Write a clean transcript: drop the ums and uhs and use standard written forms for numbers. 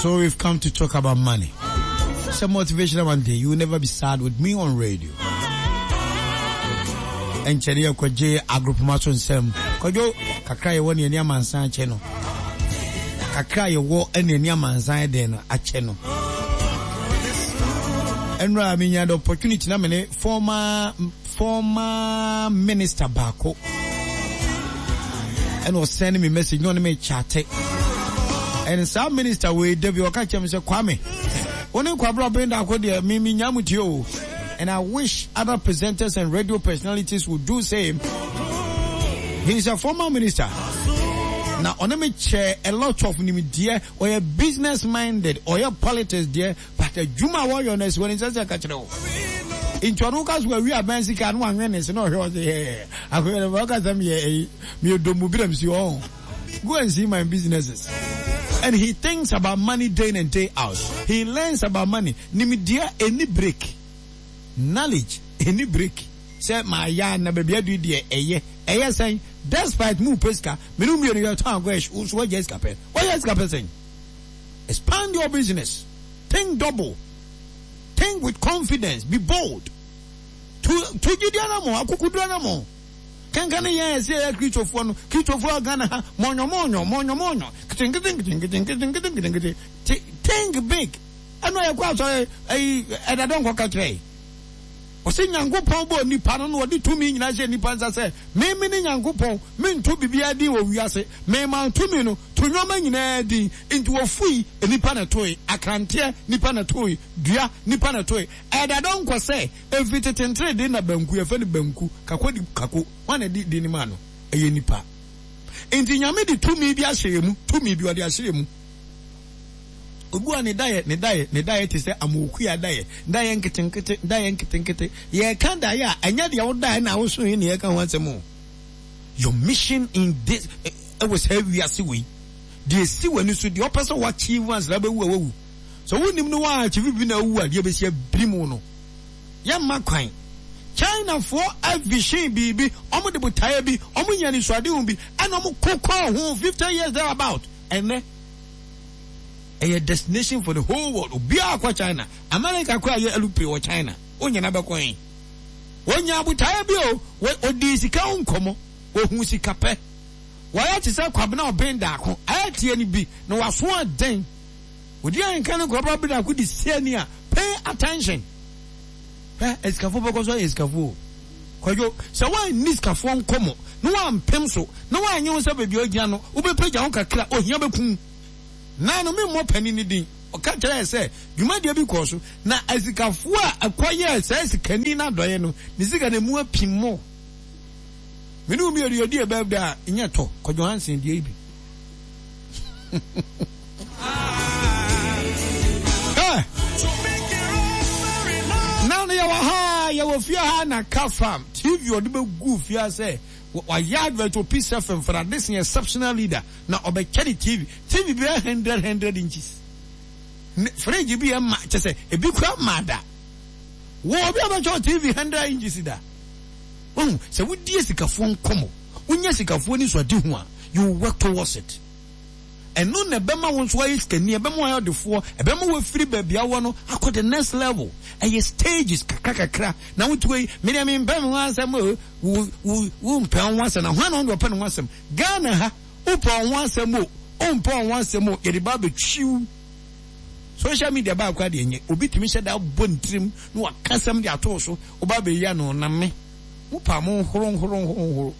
So we've come to talk about money. It's a motivational one day. You will never be sad with me on radio. Ɛnkyɛ ne yɛkɔgye agropoma so nsɛm. Kwadwo, kakra yɛwɔ ne ani amansan akyɛ no. Kakra yɛwɔ ne ani amansan ɛdɛn no akyɛ no. Ɛnora menya the opportunity na mene former former minister baako ɛna ɔsɛn me message na ɔne me kyate ɛne saa minister wei da bi ɔka kyerɛ me sɛ Kwame wo ne Kwabra Ɔbɛn deɛ me me nya mu tie o. And I wish other presenters and radio personalities would do same. He's a former minister. Now, ɔne me kyɛ a lot of nimdeɛ, ɔyɛ business minded, ɔyɛ politics deɛ, but adwuma a wɔyɔ no asi wɔ ne nsa sɛ ka kyerɛ wo. Nti ɔno ka so awi aban sika no wanwene ne se na ɔhwɛ ɔse hɛɛ akɔyɛ no ɔka sɛ meyɛ ɛyi meyɛ domu bi na mesi ɔn. Go and see my businesses. And he thinks about money day in and day out. He learns about money. Nimdeɛ ɛni break. Knowledge ɛni break. Sɛ mayɛ a na baabi adu deɛ ɛyɛ. Ɛyɛ sɛn? Despite mu pɛ sika, me ne wo mmienu yɛtɔn agɔ ɛhye, wo nso woagya sika pɛ. Woagya sika pɛ sɛn? Expand your business. Think double. Think with confidence. Be bold. Tu tu gyidi anamɔ, akukuduro anamɔ. Kanka ne yɛn a ɛsɛ yɛyɛ Kristofoɔ no, Kristofoɔ a Ghana ha, mɔnyɔmɔnyɔ, mɔnyɔmɔnyɔ, nketenkete nketenkete nketenkete nketenkete. Think big. Ɛno a yɛkɔ asɔre ɛyi ɛda dɔn kɔka kyerɛ yi. Ɔsɛ Nyankopɔn bɔɔ nipa no na ɔde tumi nyinaa hyɛ nipa nsa sɛ me me ne Nyankopɔn mento biribiara din wɔ wiase mema tumi no to nneɛma nyinaa din nti wɔfui nipa na ɛtoe akranteɛ nipa na ɛtoe dua nipa na ɛtoe ɛda dɔn kɔ sɛ ɛfiri tete ntere na banku yɛfɛ no banku kako di kako hwan na ɛde din no maa no ɛyɛ nipa nti Nyame de tumi bi ahyɛ yɛ mu tumi bi ɔde ahyɛ yɛ mu. Obi a ne daeɛ, ne daeɛ, ne daeɛ te sɛ amokuya daeɛ, daeɛ nketenkete, daeɛ nketenkete. Yɛreka daeɛ a, ɛnyɛ deɛ wodaeɛ na wosoe na yɛreka ho asɛm o. Your mission in this, ɛwɔ saa wiase wei, deɛ esi w'ani so, deɛ ɔpɛ sɛ w'achieve ansa na wobɛwu a wawu. Sɛ wonim no w'achieve bi na awu a, deɛ bɛsi abirim wo no, yɛmma kwan. Chinafoɔ avision biribi, wɔn de botaeɛ bi, wɔn nya anisoadehu bi, ɛna wɔn ko kɔɔ ho 50 years there about. Ɛnnɛ, ɛyɛ destination for the whole world. Obiara kɔ China. America koraa yɛ aeroplane wɔ China. Wonyina bɛkɔ he? Wɔnya abotaeɛ bi o. Wɔdii sika ho nkɔmmɔ. Wɔhuu sika pɛ. Wɔayɛ te sɛ Kwabena Ɔben Daako. Ayɛ teɛ no bi na waso aden. Odi ahenka ne Kwabena Ɔben Daako di siani a, pay attention. Hwɛ, asikafoɔ bɛkɔ so ayɛ asikafoɔ o. Kwadwo, sɛ woanni sikafoɔ nkɔmmɔ na woampem so na woanyɛ wo sɛ baabi a wogyina no wobɛpagya wo kakra a, ohia bɛku wo. Naa no, memmɔ panin no din, ɔka kyerɛɛ sɛ dwumadie bi kɔɔ so na asikafoɔ a ɛkɔyɛɛ saa sikani no adɔeɛ no, ne sika no ɛmu apim more. Me ne wo mmienu yɛdi yɛ birthday a, nyɛ tɔ, Kwadwo Hansen deɛ yi bi. Na no yɛwɔ ha yɛwɔ fie ha na ka farm TV ɔde bɛgu fie ha sɛ wayɛ advert wɔ Peace FM for this exceptional leader na ɔbɛkyɛ ne TV TV bi yɛ 100 100 inches fridge bi yɛ ma kyɛ sɛ ebi kura ma da wɔ obi a bɛkyɛ TV 100 inches da wɔn sɛ wodie sikafoɔ nkɔmɔ wonya sikafoɔ ni so ade ho a you work towards it. Ɛno na ɛbɛma wo nso woayɛ sikani, ɛbɛma woayɛ ɔdefoɔ, ɛbɛma woafiri baabi a wowɔ no akɔ the next level. Ɛyɛ stages kakra kakra. Na wote hɔ yi, me deɛ mempɛ me ho asɛm o, wo, wo, wompɛ wo ho asɛm. Na hwan na ɔno deɛ ɔpɛ ne ho asɛm? Ghana ha, wopɛ wo ho asɛm o, wompɛ wo ho asɛm o, yɛde ba abɛtwiw. Social media baa koraa deɛ ɛnyɛ. Obi tumi hyɛ da bɔ ne tirim na waka asɛm de ato wo so, woba abɛyi ano, na me, mo paa mo nhoro nhoro nhoro nhoro.